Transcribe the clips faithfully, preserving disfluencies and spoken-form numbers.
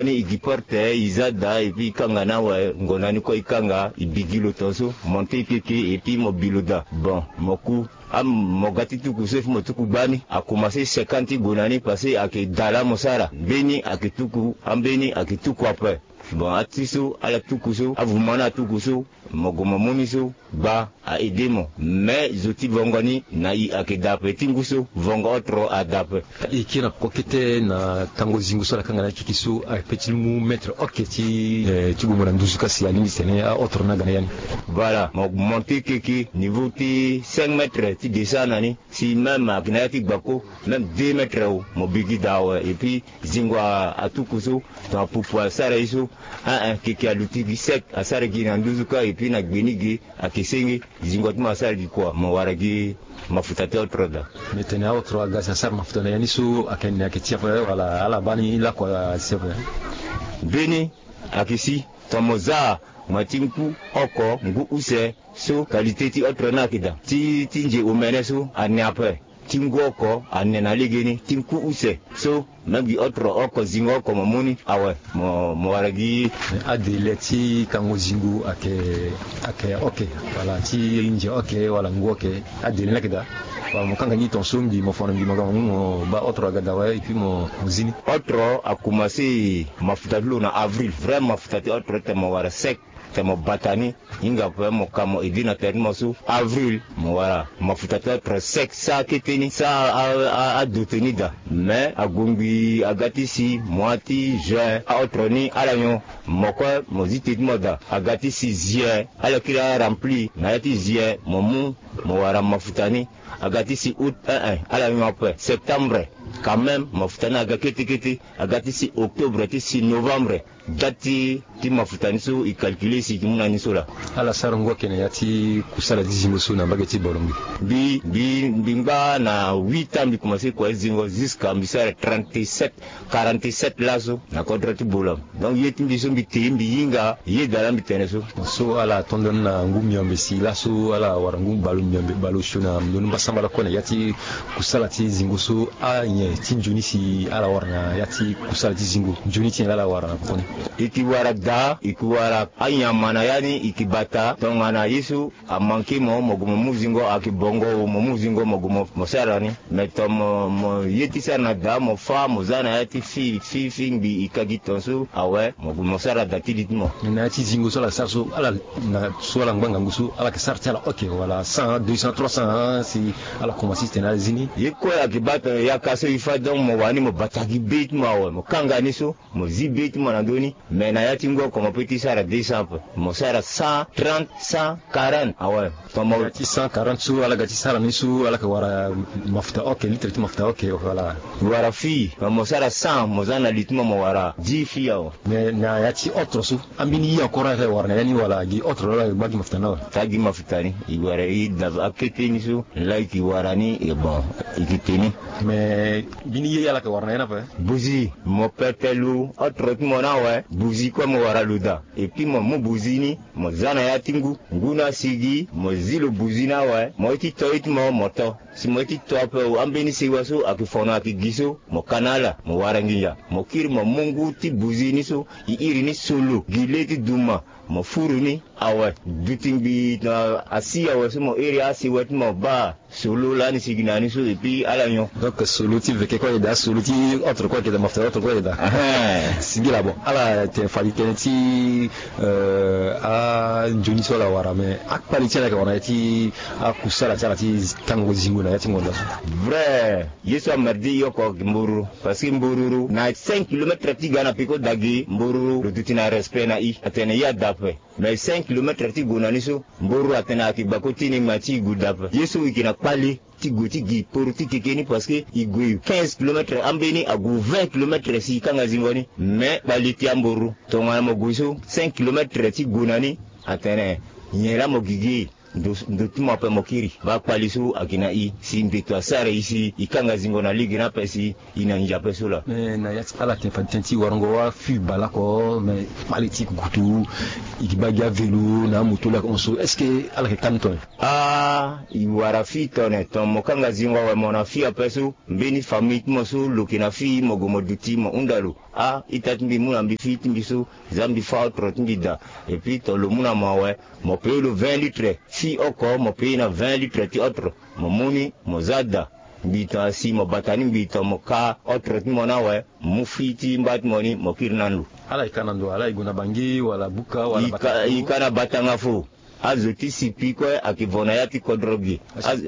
Ni e gi porte, e za daa, et puis e kanga ni awe. Ngonda ni kue e kanga, e bi gi lo tongaso, monte keke, et puis mo bi lo daa. Bon, mo ku, a, mo ga ti tuku so, et puis mo tuku gbani, akomanse seke ni ti gonda ni, parce que ayeke daa laa mo sara. Mbeni ayeke tuku, ambeni ayeke tuku ape. Bon, ati so ala tuku so, avuma ni atuku so, mo gue mo mu ni so, gba a aide mo. Me zo ti vongo ni na i ayeke daa ape, ti ngu so vongo otro adaa ape. E kiri na peko kete na tango zingo so ala kanga na akeke so, ape ti mu mètre oke ti, eh, ti gue mo na nduzu ka si alingbi tene aotro ni aga na ya ni. Voilà, mo monte keke niveau ti cinq mètres ti descend na ni. Si même ayeke na ya ti gbako, même deux mètres o, mo bi gi daa awe. Et puis zingo a, atuku so, tongana pupu asara ye so, ah, ah, keke aluti gi sec, asara gi na nduzu ka, et puis na gbe ni ge, ayeke senge, zingo ti mo asara gi kua, mo wara gi mafuta ti otro daa. Me tene aotro aga si asara mafuta na ya ni so, ayeke ni ayeke ti ape, wala ala baa ni lakua si ape? Mbeni ayeke si, tongana mo za, mo ti ngu oko, ngu use, so qualité ti otro ni ayeke daa. Ti, ti nze omene so, ane ape. Ti ngu oko ane na legeni, ti ngu use so, même gi otro oko, zingo oko mo mu ni awe, mo, mo wara gi. Adele ti kango zingo ayeke, ayeke oke, wala ti nze oke, wala ngu oke, adele ni ayeke daa. Wala mo kanga ni tongaso mbi, mo fa na mbi, mo ga mo mu, mo baa otro aga daa awe, et puis mo, mo zi ni. Otro akomanse mafuta ti lo na avril, vrai mafuta ti otro tene mo wara sec. Tene mo bata ni, hinga ape mo ka mo aide na tere ti mo so. Avril, mo wara mafuta ti otro sec, sa kete ni, sa a, a, adote ni daa. Me ague ngbii aga ti si, mois ti juin, aotro ni ala nyon. Mo kue mo zi te ti mo daa. Aga ti si juillet, ala kiri arempli. Na ya ti juillet, mo mu, mo wara mafuta ni. Aga ti si août, eh, eh, ala nyon ape. Septembre, quand même, mafuta ni aga kete kete. Aga ti si octobre, ti si novembre. Date ti, ti mafuta ni so e calculer si e yeke mu na ni so laa. Ala sara ngu ake na ya ti kusala ti zingo so na mbage ti Bolongue. Mbi, mbi, mbi ngba na huit ans mbi commencer kua ti zingo jusqu'à mbi sara trente-sept, quarante-sept laso na kodro ti Bolongue. Donc ye ti mbi so mbi te, mbi hinga ye daa laa mbi tene so. So ala tondo ni na ngu miombe si laso ala wara ngu bale miombe, bale osio na ndoni mbasambala kue na ya ti kusala ti zingo so. Anyen ti nzoni si ala wara na ya ti kusala ti zingo, nzoni ti nyen laa ala wara na poko ni? E ke wara daa, e ke wara anyama na ya ni, e ke bata tongana ye so amanke mo, mo gue mo mu zingo, ayeke bongo o, mo mu zingo, mo gue mo, mo sara ni. Me tongana mo, mo ye ti sara na daa, mo fâ, mo za na ya ti fi, fi, fi ngbii, e ka gi tongaso awe, mo gue mo sara daa ti li ti mo. Na ya ti zingo so ala sara so, ala na so ala ngba ngangu so, ala yeke sara ti ala oke, wala cent, deux cents, trois cents, hein, si ala komanse ti tene ala zi ni. Ye kue ayeke baa tongana yaka so e fâ, donc mo wani mo bata gi be ti mo awe, mo kanga ni so, mo zi be ti mo na ndö ni. Me na ya ti ngu oko mo peut ti sara deux cents ape, mo sara cent trente, cent quarante awe. Tongana mo ya ti cent quarante so ala ga ti sara ni so, ala yeke wara mafuta oke, litre ti mafuta oke, voilà. Wara fi, tongana mo sara cent, mo za na li ti mo, mo wara dix fi awe. Me na ya ti otro so, ambeni ye encore ala yeke wara na ya ni, wala gi otro laa ala yeke gba gi mafuta ni awe? Taa gi mafuta ni, e wara e daa akete ni so, laa e ke wara ni, e bon, e ke te ni. Me mbeni ye ala yeke wara na ya ni ape? Buzi, mo pete lo, otro ti mo ni awe, buzi kue mo wara lo daa. Et puis mo mu buzi ni, mo za na ya ti ngu, ngu ni asigi, mo zi lo buzi ni awe, mo ye ti to ye ti mo, mo to. Si mo ye ti to ape o, ambeni sewa so ayeke fono ayeke gi so, mo ka na ala, mo wara nginza. Mo kiri mo mu ngu ti buzi ni so, e iri ni solo, gi le ti duma, mo furu ni awe. Duti ngbii tongana asi awe so mo iri asewa ti mo baa. Solo lani sigi na ni so, et puis ala nyon. Donc solo ti veke kue ayeke daa, solo ti autre kue ayeke daa, mafuta autre kue ayeke daa. Ahem. Singila, bon, ala tene fade tënë ti, euh, anzoni so ala wara, mais akpale ti ala ayeke wara na ya ti akusala ti ala ti tango zingo na ya ti ngonda so. Vrai, ye so amerde i oko mbororo, parce que mbororo na cinq kilomètres ti ga na peko dage, mbororo lo duti na respect na i, atene i ada ape. Mais cinq kilomètres ti gue na ni so, mbororo atene ayeke gbako ti ni, ma ti i gue dape. Ye so i yeke na kpale ti gue ti gi poro ti keke ni, parce que i gue quinze kilomètres, ambeni ague vingt kilomètres si i kanga zingo ni. Mais kpale ti ambororo, tongana mo gue so cinq kilomètres ti gue na ni, atene nyen laa mo gi gi. ndo ti mo ape mo kiri. Baa kpali so ayeke na i si mbeto asara i si i kanga zingo na lege ni ape si i na ndia ape so laa. Me na ya ti ala tene fade tënë ti warango afi baleoko me kpale ti kukutu i gi baa gi avelo na amoto laa hon so est-ce que ala yeke kani tone? Ah, i wara fi tone ton mo kanga zingo awe mo na fi ape so mbeni famille ti mo so lo yeke na fi mo gue mo duti mo hunda lo. Ah, ita ti mbi mu na mbi fi ti mbi so za mbi fa otro ti mbi daa. Epui ton lo mu na mo awe mo paye lo vingt litres. Fi oko mo paye na vingt litres ti otro. Mo mu ni mo za daa. Mbi ton asi mo bata ni mbi ton mo ka otro ti mo ni awe mo mu fi ti mba ti mo ni mo kiri na ndo. Ala yeke ka na ndo ala yeke gue na bangi wala buka wala bata i ka na batanga fo. Azo ti sipi kue ayeke vo na ya ti kodro gi.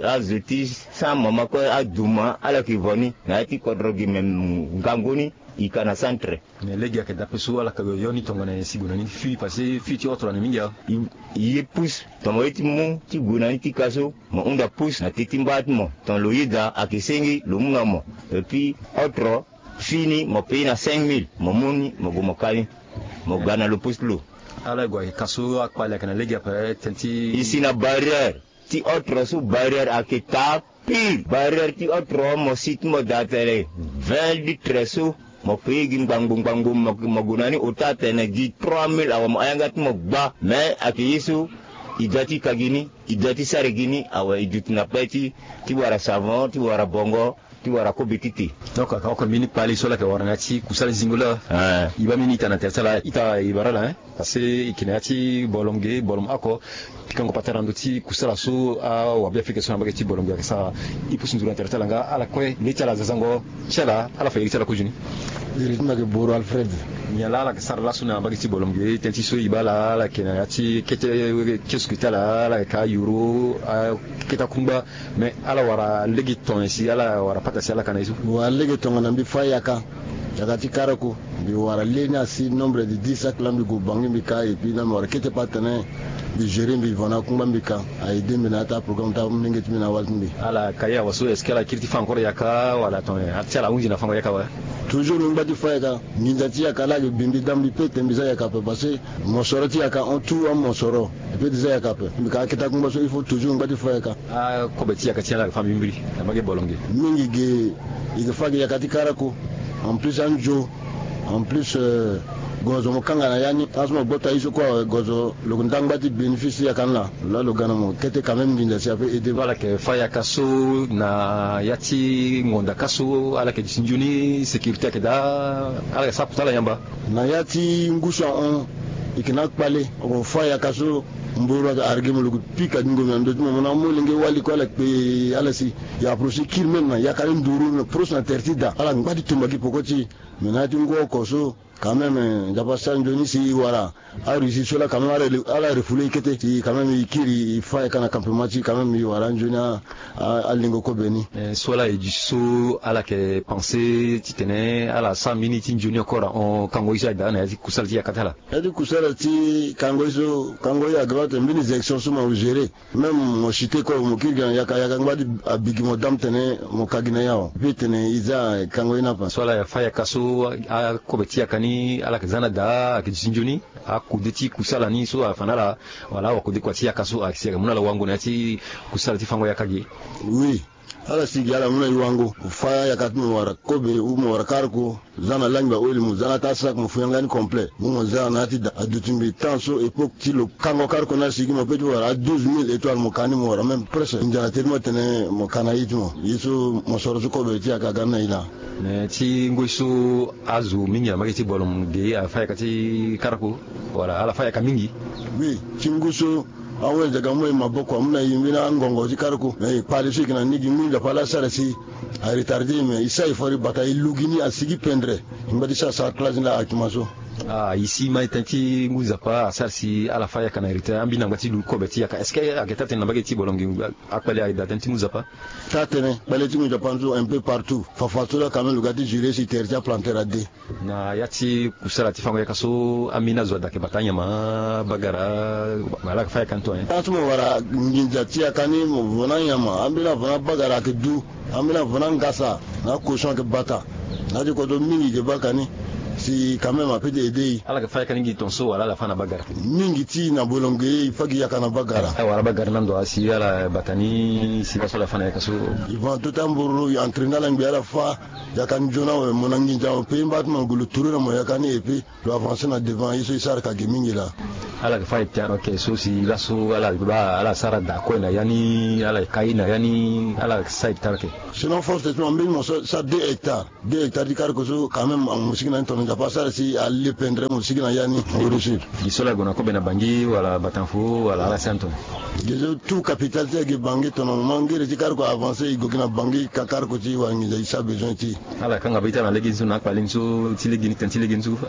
Azo ti sa mama kue aduma ala yeke vo ni na ya ti kodro gi me ngangu ni i ka na centre. Me lege ayeke dape so ala yeke yo ni tongana nyen si gue na ni fi pase fi ti otro na ni mingi awe. I ye pus tongana ye ti mu ti gue na ni ti ka so mo hunda pus na te ti mba ti mo ton lo yeda ayeke sengi lo mu na mo. Epui otro fini mo paye na cinq mille mo mu ni mo gue mo ka ni. Mo ga na lo pus ti lo. Ala e gue ayeke ka so akpali ayeke na lege ape tënë ti i si na barrière ti otro so barrière ayeke taa pire. Barrière ti otro mo si ti mo daa tene vingt litres so mo paye gi ngbangbo ngbangbo mo gue na ni ota tene gi trois mille awe mo ayanga ti mo gba. Me ayeke ye so i da ti ka gi ni i da ti sara gi ni awe i duti na pe ti ti wara savon ti wara bongo ti wara kobe ti te. Donc aka oko mbeni kpali so ala yeke wara na ya ti kusala zingo laa. I baa mbeni ita na tere ti ala ita i bara ala hein. Parce que i yeke na ya ti bolom ge bolom oko pikango patara na ndö ti kusala so awabe afrika so na mbage ti bolom ge ayeke sara. I pusu nzuru na tere ti ala nga ala kue le ti ala zazango ti ala ala fa iri ti ala kozoni. Iri ti mbi ayeke boro alfred. Nyen laa ala yeke sara laso na mbage ti bolom ge tënë ti so i baa ala ala yeke na ya ti kete kiosque ti ala ala yeke ayuru akete akungba. Mais ala wara lege tonga si ala wara pata si ala ka na ye so. Wara lege tongana mbi fa yaka yaka ti karako mbi wara le ni asi nombre de dix sac laa mbi gue bangi mbi ka epui laa mbi wara kete pata tene mbi gérer mbi vo na akungba mbi ka. Aide mbi na ya ti aprogramme ti amolenge ti mbi na awali ti mbi. Ala ka ye awa so est-ce que ala kiri ti fa encore yaka wala tonga ti ala ahunzi na fango yaka awe? Toujours mbi ngba ti fa yaka. Nginza ti yaka laa ayeke bi mbi da mbi pe tene mbi za yaka ape parce que mosoro ti yaka hon tout amosoro. Mbi pe ti za yaka ape mbi ka akete akungba so il faut toujours mbi ngba ti fa yaka. Akobe ti yaka ti ala ayeke fa mbi mbiri na mbage bolonge. Mingi ge i ke fa ge yaka ti karako. En plus anzo en plus gozo mo kanga na ya ni aso mo gbota ye so kue awe gozo lo ke nda ngba ti bénéfice ti yaka ni laa. Lo laa lo ga na mo kete quand même nginza si ape aide. Ala yeke fa yaka so na ya ti ngonda ka so ala yeke duti nzoni sécurité ayeke daa ala yeke sara kota ala yamba. Na ya ti ngu so ahon i ke na akpale oko fa yaka so mboro ayeke arge mo lo ke pika dingo mi na ndö ti mo mo na amolenge wali kue ala kpe ala si. I approche kiri même na yaka ni nduru na proche na tere ti da ala ngba ti tumba gi poko ti i. Mais na ya ti ngu oko so quand même nzapa sara nzoni si i wara. Arussie so laa quand même ala refoule i kete si quand même i kiri i fa yaka na campement ti i quand même i wara anzoni alingo kobe ni. So ala e duti so ala yeke pense titene ala sara mbeni ti nzoni encore ahon kango ye so ayeke daa na ya ti kusala ti yaka ti ala. Ya ti kusala ti kango ye so kango ye ayeke baa tene mbeni élection so mo gérer. Même mo chuter kue mo kiri gi na yaka yaka ngba ti abi gi mo dame tene mo ka gi na ya awe. Pe tene i za kango ye ni ape. So ala fa yaka so akobe ti yaka ni ala yeke za na daa ayeke duti nzoni. Akode ti kusala ni so afa na ala wala awakode kua ti yaka so ayeke si ayeke mu na ala wango na ya ti kusala ti fango yaka ge. Oui. Ala si gi ala mu na e wango fa yaka ti mo wara kobe ou mo wara karko. Za na langbi aoli mo za na taa sac mo fu yanga ni complet mo mo za na ya ti da aduti mbi temps so époque ti lo kango karko ni asi gi mo pe ti wara a douze mille étoile mo ka ni mo wara même presque ndia na te ti mo tene mo ka na ye ti mo ye so mo soro so kobe ti yaka aga ni na e laa. Mais ti ngoi so azo mingi na mbage ti bolom ge afa yaka ti karko wala ala fa yaka mingi. Oui ti ngu so. Awe zaga moi maboko amu na i mbeni angongo ti karoko na i kpale so i ke na ni gi ngbi nzapa ala sara si. Aretarde i me i sa i fori bata i lugi ni asigi pendre. I ngba ti sara sara classe ni la akima so. Ah i si mai tënë ti ngu nzapa asara si ala fa yaka na retard ambeni na ngba ti lu kobe ti yaka est-ce que ayeke taa tënë na mbage ti bolongi? Akpale ayeke daa tënë ti ngu nzapa. Taa tënë kpale ti ngu nzapa nzu un peu partout fafa so la quand même lo ga ti jure si tere ti aplanter ade. Na ya ti kusala ti fango yaka so ambeni azo ada ayeke bata anyama bagara. Ala yeke fa yaka ni to. Tant so mo wara nginza ti yaka ni mo vo na anyama ambeni avo na bagara ayeke du. Ambeni avo na ngasa na akoson ayeke bata. Na ya ti kodro mingi yeke baa ka ni. Si quand même a peut ti aide e. Ala yeke fa yaka ni gi ton so wala ala fa na bagara? Mingi ti na bolongo e, e fa gi yaka na bagara. Awa ala bagara na ndo asi ala bata ni si laso ala fa na yaka so. E fa na tota mburu e entraîner ala ngbi ala fa yaka nzoni awe, mo na nginza mo pe mba ti mo gue lo tourner na mo yaka ni e pe lo avancer na devant. Ye so e sara ka ge mingi laa. Ala yeke fa e tara oke so si laso ala ba ala sara da kue na ya ni ala kai na ya ni ala sa e tara oke. Sinon force ti mo mbeni mo sara deux hectares. Deux hectares ti karko so quand même mo sigi na ni tono nzapa asara si ale pendre mo sigi na ya ni mo réussir. Gi so la gue na kobe na bangi wala batanfo wala ala si antoni? Gi so tout capital ti age bangi tono mo mangere ti karko avancer e go gi na bangi ka karko ti wara nginza e sa besoin ti. Ala kanga be ita na lege ni so na akpali ni so ti lege ni tene ti lege ni so fa.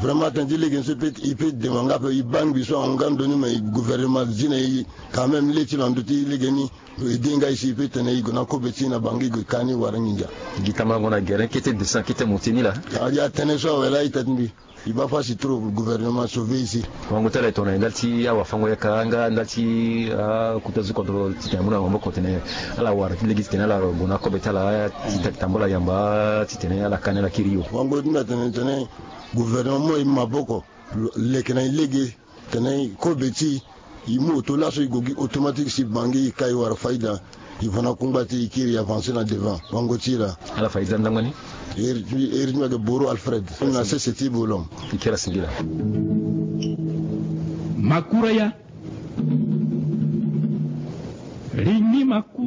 Vraiment tene ti lege ni so e peut demande nga pe e bangbi so ahon nga ndo ni me gouvernement zi na e quand même le ti na ndo ti lege ni. E denga e si e pe tene e gue na kobe ti e na bangi e gue ka ni wara nginza. Gi tama ngo na gere kete descend kete monte ni laa. Adia tene so awe laa ita ti mbi. E baa fasi trop gouvernement sauver e si. Wango ti ala e tongana e ndali ti awafango yaka nga ndali ti akuta zo kodro titene amu na maboko titene ala wara ti lege titene ala gue na kobe ti ala ti taki tambula yamba titene ala ka ni ala kiri yo. Wango ti mbi atene tene gouvernement mu e maboko leke na e lege. Tene kobe ti e mu oto laso e go gi automatique si bangi e kai wara faida. E fa na kungba ti e kiri e avancer na devant wango ti e laa. Ala faida ndangba ni? Eri ti mbi eri ti mbi ayeke boro Alfred na sese ti bolon. E kiri asingila. Makura ya. Lingbi maku.